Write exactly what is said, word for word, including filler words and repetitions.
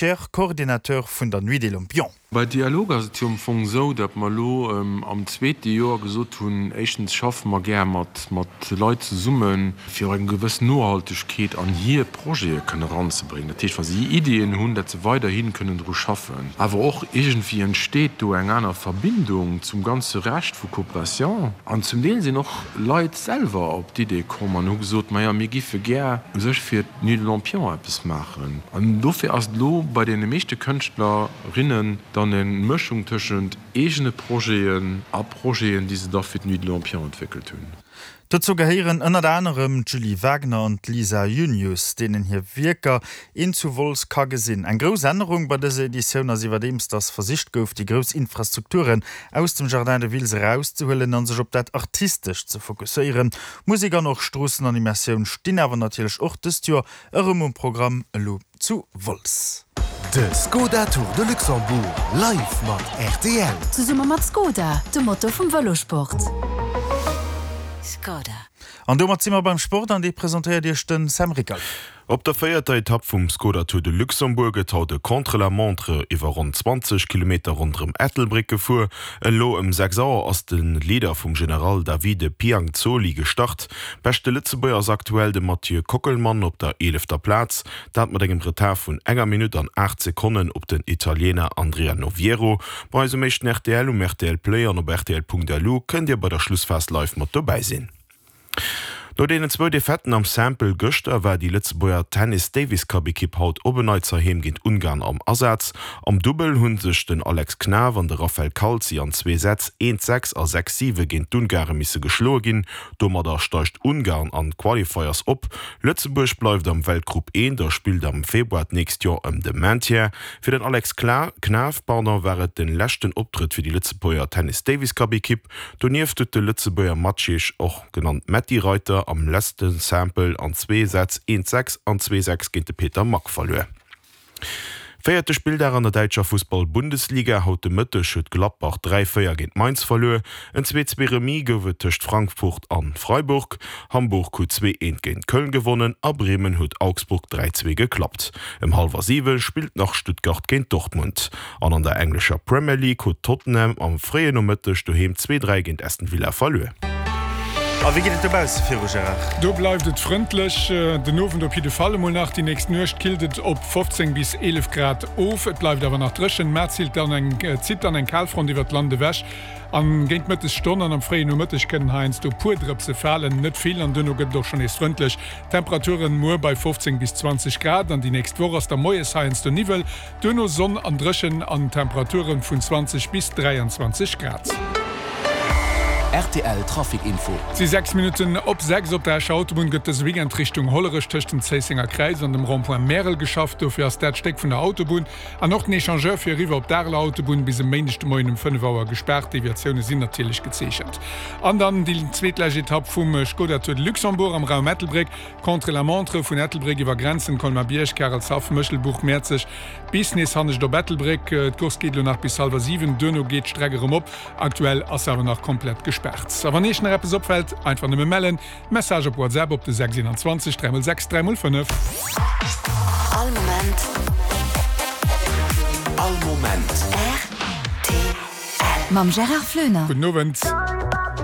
Scheer, Coordinateur vun der Nuit des Lampions. Bei Dialog ass et jo am Fong esou, datt mer elo am zweete Joer gesot hunn, éischtens schaffe mer gär mat mat Leit zesummen, fir och eng gewëss Nohaltegkeet an hir Projete kënne eranzebréngen. Dat heescht, wa si Iddien hunn, datt se weiderhi kënnen dru schaffen. Awer och iergendwéi entsteet do eng aner Verbindung zum ganze Rescht vu Coopération. An zum Deel sinn och Leit selwer op d'Idee komm an hu gesot, Maja, mir giffe gär u sech fir d'Nuit de Lampion eppes maachen. An dofir ass et elo bei deene meeschte Kënschtlerinnen dann eng Mëschung tëschent eegene Projeten a Projeten, déi se da fir d'Nuit de Lampion entwéckelt hunn. Dozou gehéieren ënnert anerem d'Julie Wagner an d'Lisa Junius, deenen hir Wierker een zu Wolz ka gesinn. Eng grouss Ännerung bei dëser Editioun ass iwwerdeems, dass versicht gouf, déi grouss Infrastrukturen aus dem Jardin de Wiltz erauszehuelen a sech op dat Artistescht ze fokusséieren. Musek an och Stroossenanimatioun stinn awer natierlech och dëst Joer erëm um Programm, elo zu Wolz. De Skoda Tour de Luxembourg live mat rtl. Zesumme mat Skoda, de Motor vum Vëlosport. Skoda. An domat si mer beim Sport an dee presentéiert Iech den Sam Rickert. Op der véierter Etapp vum Skoda Tour de Luxembourg gëtt haut e Contre-la-montre iwwer ronn zwanzeg Kilometer ronderëm Ettelbréck gefuer. Elo ëm sechs Auer ass de Leader vum General Davide Pianzoli gestart. Beschte Lëtzebuerger ass aktuell de Mathieu Kockelmann op der eelefter Plaz, dat mat engem Retard vun enger Minutt an aacht Sekonnen op den Italiener Andrea Noviero. Bei eis um éischten rtl, um rtl Play an op rtl.lu kënnt Dir bei der Schlussphas live mat dobäi sinn. No deenen zwou Defaitten am Simple gëschter war déi Lëtzebuerger Tennis-Davis-Cup-Ekipp haut op en Neits heiheem géint Ungarn am Asaz. Am Dubbel hu sech den Alex Knaff an de Raphael Calzi an zwee Sätz eent, sechs a sechs, siwe géint d'Ungare misse geschloe ginn. Domadder steigt Ungarn an d'Qualifiers op. Lëtzebuerg bleift am Weltgrupp eent a spillt am Februar d'nächst Joer ëm de Maintien. Fir den Alex Knaff war et de leschten Optrëtt fir déi Lëtzebuerger Tennis-Davis-Cup-Ekipp. Donieft huet de Lëtzebuerger Maciej, och genannt Metti Reiter, am leschte Simple an zwee Sätz eent, sechs an zwee, sechs géint de Peter Mack verluer. Véierte Spilldag an der däitscher Fussball-Bundesliga, Haut de Mëtteg huet Gladbach dräi, véier géint Mainz verluer. En zwee, zwee Remis gouf et tëscht Frankfurt an Freiburg. Hamburg huet zwee, eent géint Köln gewonnen a Bremen huet Augsburg dräi, zwee geklappt. Ëm hallwer siwe spillt nach Stuttgart géint Dortmund. An an der englescher Premier League huet Tottenham am fréien Nomëtteg doheem zwee, dräi géint Aston Villa verluer. A wéi geet et dobausse viru, Gérard? Do bleift et frëndlech, den Owend op jidde Fall emol nach. Déi nächst Nuecht killt et op fofzéng bis eelef Grad of, et bleift awer nach dréchen. Mä zitt dann eng zitt dann eng Kalfront iwwert d'Land ewech an géint d'Mëttesstonn an am fréien Nomëtteg kënnen heiansdo puer Drëpse falen, net vill, an duerno gëtt et och schonn nees frëndlech. Temperaturen muer bei fofzéng bis zwanzeg Grad an déi nächst Woch ass da moies heiansdo Niwwel, duerno Sonn an dréchen an Temperature vun zwanzeg bis dräianzwanzeg Grad. Rtl Trafic Info. Et si sechs Minutten op sechs. Op der Escher Autobunn gëtt dëse Weekend Richtung Hollerech tëscht dem Zéissenger Kräiz an dem Rond-point Märel geschafft. Dofir ass dat Stéck vun der Autobunn an och den Echangeur fir eriwwer op d'Areler Autobunn bis e Méindeg de Moien um fënnef Auer gespaart. Deviatioune sinn natierlech gezeechent. An dann déi zweetlescht Etapp vum Skoda Tour de Luxembourg am Raum Ettelbréck. Contre-la-montre vun Ettelbréck iwwer Grenzen, Colmar-Bierg, Karelshaff, Méchelbuch, Mäerzeg bis nees hannescht op Ettelbréck. D'Course geet elo nach bis hallwer siwen, duerno geet d'Streck erëm op. Aktuell ass se awer nach komplett gespaart. A wann Iech nach eppes opfält, einfach nëmme mellen. Message op WhatsApp op de sechs einundzwanzeg dräi mol sechs dräi mol fënnef. All Moment. All Moment. Rtl. Mam Gérard Floener. Gudden Owend.